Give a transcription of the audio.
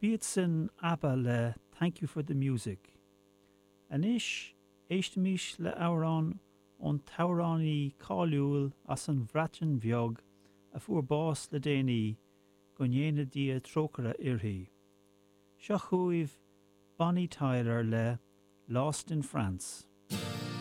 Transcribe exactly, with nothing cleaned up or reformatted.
B'iad sin ABBA le Thank You for the Music. Anois éistimis le amhrán ón t-amhránaí cáiliúil as an Bhreatain Bheag a fuair bás le déanaí go ndéana Dia trócaire uirthi. Seo chugaibh Bonnie Tyler le Lost in France.